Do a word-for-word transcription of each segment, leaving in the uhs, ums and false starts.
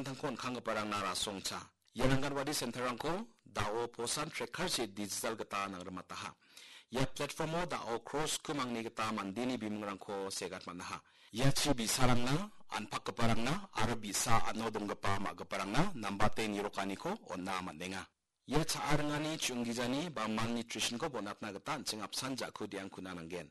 Tangko on·kanggiparangna rasongcha. Ia Anganwadi centerrangko da·o posan tracker-chi digital gita nangrimataha. Ia platformo da·o crore sku mangni gita mandeni bimingranko segat man·aha. Ia chi bi·sarangna, anpakgiparangna aro bi·sa an·o donggipa ma·giparangna nambate nirokaniko on·a man·enga. Ia cha·a ringani chu·onggijani ba malnutritionko bonatna gita an·ching apsan ja·ku de·angkuna nanggen.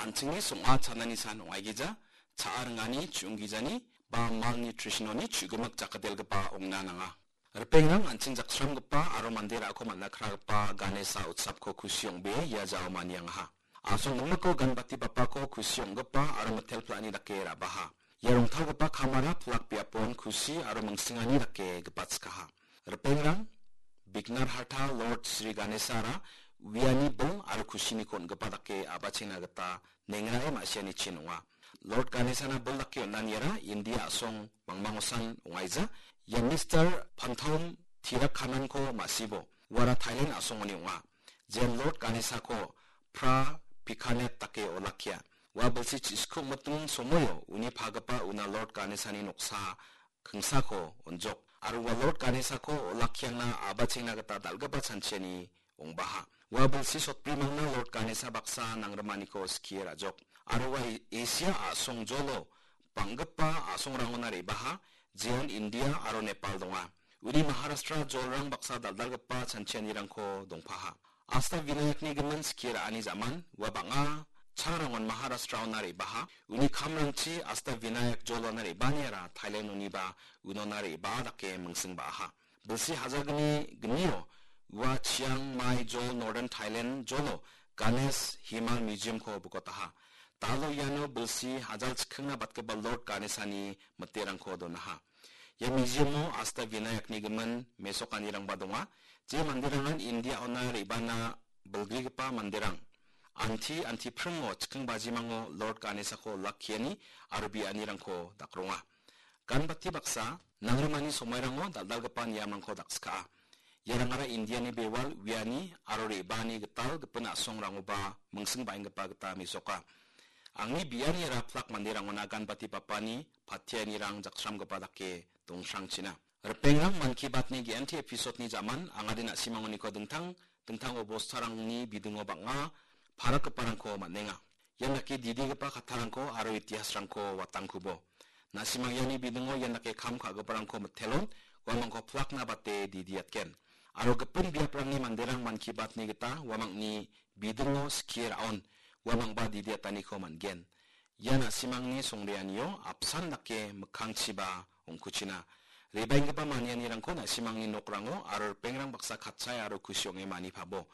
An·chingni song·a chanani san ong·aigija, cha·a ringani chu·onggijani ba malnutritiononi chu·gimik jakkadelgipa ong·na nanga. Ripengrang, an·ching jaksramgipa aro mande ra·ako man·a kragipa Ganesa utsapko kusi ong·bee ia jao maniangaha. Asong gimikko ganbati bapako kusi ong·gipa aro mitel pla·ani dake ra·baha. Ia rongtalgipa kamara pilak biapon kusi aro mingsingani dake gipatskaha. Ripengrang, Bignar Harta Lord Sri Ganesara uiani bil aro kusiniko on·gipa dake a·bachengna gita nengrae ma·sianichin ong·a. Lord Ganesana bil dake on·aniara India a·song mangmangosan ong·aija. Ia Mister Panthom Tirakhananko ma·sibo, uara Thailand a·songoni ong·a. Jean Lord Ganesako Pra Pikanet dake olakkia. Ua bilsi chisku miting somoio uni pagipa una Lord Ganesani noksa kingsako on·jok. Aro ua Lord Ganesako olakkiangna a·bachengna gita dal·gipa chanchiani ong·baha. Ua bilsi sotbrimangna Lord Ganesa baksa nangrimaniko skie ra·jok. Aro ua Asia a·song jolo bang·gipa a·songrangona re·baha, jeon India aro Nepal donga. Uni Maharashtra jolrang baksa dal·dalgipa chanchianirangko dongpaha. Asta Vinayakni gimin skie ra·ani ja·man, ua bang·a changrangon Maharashtraona re·baha. Uni kamrangchi Asta Vinayak jolona re·baaniara Thailandoniba unona re·baa dake mingsing ba·aha. Bilsi hajalgni gnio ua Chiang Mai jol Northern Thailand jolo Ganesh Himal Museumko bikotaha. Dalo iano bilsi hajal chikkingna batgipa Lord Ganesani miterangko donaha. Ia museum-o Asta Vinayakni gimin mesokanirangba donga. Je manderangan India-ona re·bana bilgrigipa manderang anti, anti pringo chikking bajimango Lord Ganesako olakkiani aro bianirangko dakronga. Ganbati baksa, nangrimani somairango dal·dalgipa niamrangko dakska·a. Iarangara Indiani bewal uiani aro re·baani gital gipin a·songrangoba mingsing ba·enggipa gita mesoka. Angni bianiara pilak manderangona ganbati bapani patianirang jaksramgipa dake dongsrangchina. Ripengrang, Mann Ki Baat-ni G M T episode-ni ja·man angade na·simangoniko dingtang dingtang obostarangni bidingo bang·a parakgiparangko man·enga. Ian dake didigipa kattarangko aro itihasrangko watangkubo. Na·simang iani bidingo ian dake kam ka·giparangko mitelon, uamangko pilakna bate didiatgen. Aro gipin biaprangni manderang Mann Ki Baat-ni gita uamangni bidingo skie ra·on, uamangba didiataniko man·gen. Ia na·simangni songreanio apsan dake mikkangchiba ong·kuchina. Rebaenggipa manianirangko na·simangni nokrango aro ripengrang baksa katchai aro kusi ong·e manipabo.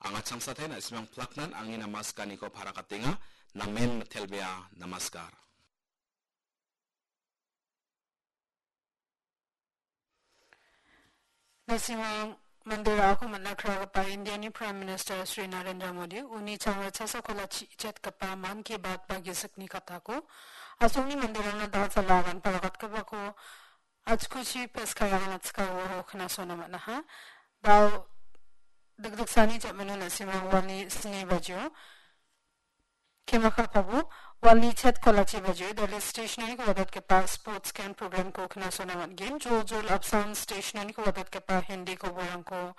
Anga changsatai na·simang pilaknan angni namaskaniko parakatenga. Namen mitelbea. Namaskar. Na·simang mande ra·ako man·a kragipa Indiani Prime Minister Shri Narendra Modi uni changra chasakolachi chetgipa Mann Ki Baat ba gisikni katako asongni manderangna da·sala agan parakatgipako achkuchi peskarangan atskao knasona man·aha. Dao dikdiksani ja·mano na·simang uani sni bajio Kemakapabo, walni chet kolachi bajio, dale stationery-ko wadatgipa sports camp program-ko knasona man·gen. Jol jol apsan stationery-ko wadatgipa Hindi koborangko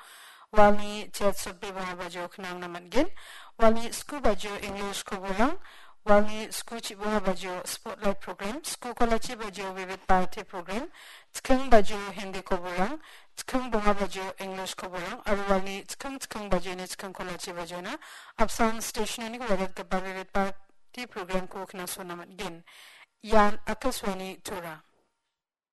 walni chet sotbe bonga bajio knangna man·gen. Walni sku bajio English koborang, walni sku chibonga bajio spotlight program, sku kolachi bajio Vivid Bharati program, chikking bajio Hindi koborang, chikking bonga bajio English koborang, aro walni chikking chikking bajioni chikking kolachi bajiona apsan stationery-ko wadatgipa Vivid Bharati program-ko knasona man·gen. Ian Akashvani Tura.